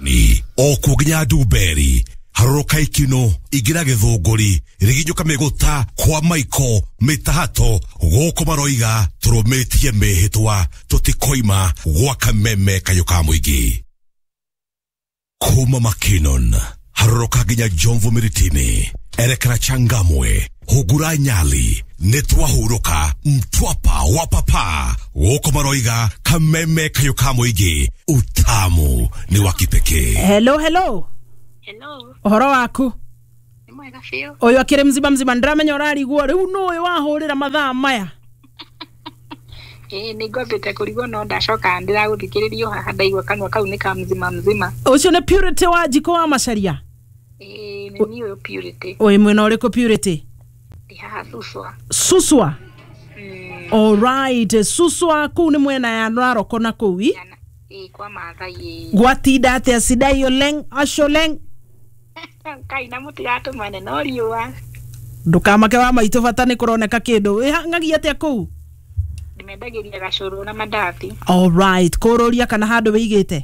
Ni o nginya Ndumberi harũrũka ikino ingĩra gĩthũngũri rĩginyũka mĩgũta kwa maiko mĩtahato gũkũ maroiga tũrũmĩtie mĩhĩtwa tũtikoima gwa Kameme kayũ ka mũingĩ. Kuma Makinon harũrũka nginya Jomvu Miritini erekera Changamwe hungura Nyali nĩtwahurũka Mtwapa wa papa gũkũ maroiga Kameme kayũ ka mũingĩ utamu ni wa kipekee. Hello, hello. Hello. Ũhoro waku? Nĩ mwega biũ. Ũyũ akĩrĩ mzima mzima, ndĩramenya ũrarigwo rĩu nũ ũyũ wahũrĩra mathaa maya. Ĩĩ nĩ ngwambĩte kũrigwo no ndacoka ndĩragũthikĩrĩria haha ndaigua kanua kau nĩ ka mzima mzima. Ũcio nĩ Purity wa Njiko wa Macharia. Ĩĩ nĩ niĩ ũyũ Purity. Ũyũ mwena ũrĩkũ Purity? Ndĩ haha Suswa. Suswa. Alright, Suswa kũu nĩ mwena ya Narok na kũu i? Ĩĩ kwa Maathai ĩĩ. Gwatinda atĩa Sidai Oleng Asholeng? Kai na mũtigatũmane no riũa. Ndũkamake wa maitũ bata nĩ kũroneka kĩndũ. Wĩhang'agia atĩa kũu? Ndĩmendagĩria gacũrũ na mandathi. Alright, kũrũria kana handũ wĩigĩte?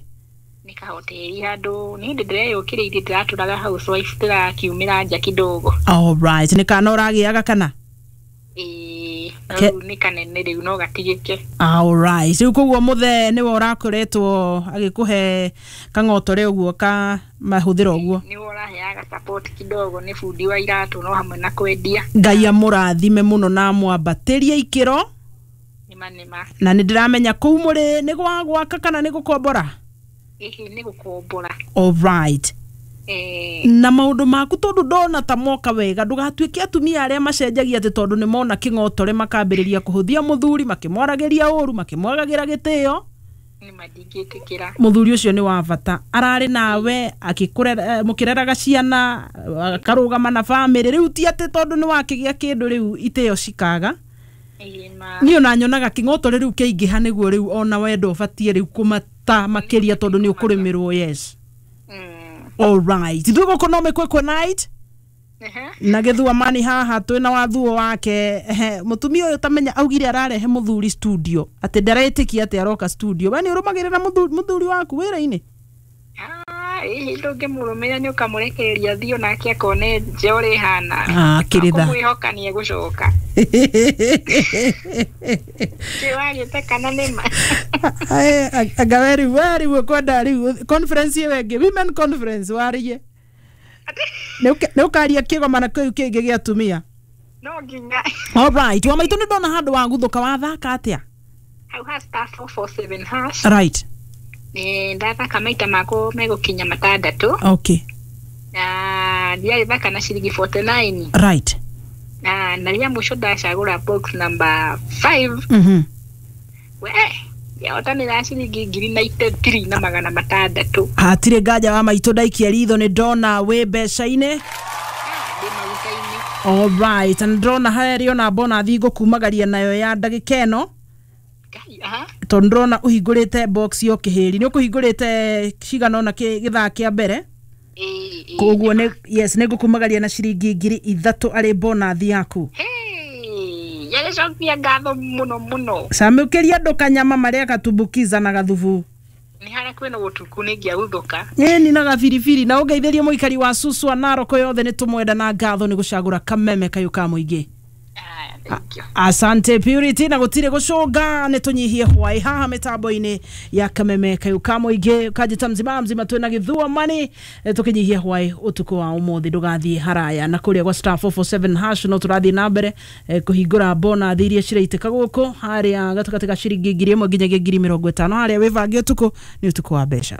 Nĩ kahoteri handũ nĩ hĩndĩ ndĩreyũkĩrĩirie ndĩratũraga housewife ndĩrakiumĩra nja kidogo. Alright, nĩ kana ũragĩaga kana? Ĩĩ, rĩu nĩ kanene rĩu no gatigĩke. Alright, rĩu koguo mũthee nĩwe ũrakoretwo agĩkũhe kang'otore ũguo ka mahũthĩro ũguo. Nĩwe ũraheaga support kidogo, nĩ bundi wa iratũ no hamwe na kwendia. Ngai amũrathime mũno na amwambatĩrie ikĩro. Nĩma nĩma. Na nĩ ndĩramenya kũu mũrĩ nĩ gwa gwaka kana nĩ gũkombora? Ĩhĩ nĩ gũkombora. Alright. Na maũndũ maku tondũ ndona ta moka wega ndũgatuĩke atumia arĩa macenjagia atĩ tondũ nĩ mona kĩng'otore makambĩrĩria kũhũthia mũthuri makĩmwaragĩria ũru makĩmwagagĩra gĩtĩo. Nĩma ndingĩtĩkĩra. Mũthuri ũcio nĩ wa bata, ararĩ nawe akĩkũrera, mũkĩreraga ciana, akarũgama na bamĩrĩ, rĩu ti atĩ tondũ nĩ wakĩgĩa kĩndũ rĩu itĩo cikaga. Niĩ ona nyonaga kĩng'otore rĩu kĩaingĩha nĩguo rĩu ona wendo ũbatiĩ rĩu kũmata makĩria tondũ nĩ ũkũrĩmĩrwo. Yes. Alright, ithuĩ gũkũ no mĩkwĩkwĩ night na gĩthua mani haha twĩna wathuo wake. Mũtumia ũyũ tamenya augire ararehe mũthuri studio atĩ ndaretĩkia atĩ aroka studio. We nĩ ũrũmagĩrĩra mũthuri waku wĩra-inĩ? Ĩhĩ ndũngĩmũrũmĩrĩra nĩ ũkamũrekereria athiĩ onake akone nja ũrĩa ĩhana. Kĩrĩtha. Akũmwĩhoka nĩ egũcoka. Wagĩte kana nĩma? Anga we rĩu we rĩu ũkwenda rĩu conference ĩyo ĩngĩ, women conference warie. Nĩ ũkaria kĩgomano kĩu kĩngĩ gĩa atumia. No nginya. Alright, wa maitũ nĩ ndona handũ waguthũka wathaka atĩa? Hau ha *447 hash. Right. Ndathaka maita makwa megũkinya matandatũ. Okay. Na ndiarĩthaka na ciringi 49. Right. Na rĩa mũico ndacagũra box number 5. We yahotanĩra ciringi 93,600. Hatirĩ nganja wa maitũ ndaikia ritho nĩ ndona wĩ mbeca-inĩ. Ndĩ maguta-inĩ. Alright, na ndĩrona harĩ ona bonathi ngũkumagaria nayo ya ndagĩka ĩno. Tondũ ndĩrona ũhingũrĩte box yo kĩhĩri nĩ ũkũhingũrĩte cigana ũna gĩthaa kĩa mbere. Koguo nĩ yes nĩ ngũkumagaria na ciringi 3,000 arĩ bonathi yaku. Yagĩcokia ngatho mũno mũno. Camũkĩria andũ kanyama marĩa gatumbukiza na gathubu. Nĩ harĩa kwĩna ũtukũ nĩ ingĩaguthũka. Ĩni na gabiribiri na ũngeithĩrie mũikari wa Suswa Narok yothe nĩ tũmwenda na ngatho nĩ gũcagũra Kameme kayũ ka mũingĩ. Asante Purity na gũtirĩ gũcũnga nĩ tũnyihie hwaĩ haha mĩtambo-inĩ ya Kameme kayũ ka mũingĩ kanjĩta mzima mzima twĩna gĩthua mani tũkĩnyihie hwaĩ ũtukũ wa ũmũthĩ ndũgathiĩ haraya na kũrĩa gwa *447 hash no tũrathiĩ na mbere kũhingũra bonathi iria ciraitĩka gũkũ harĩa gatagatĩ ka ciringi 1,000 nginyagia 50,000 harĩa wĩbange ũtukũ nĩ ũtukũ wa mbeca.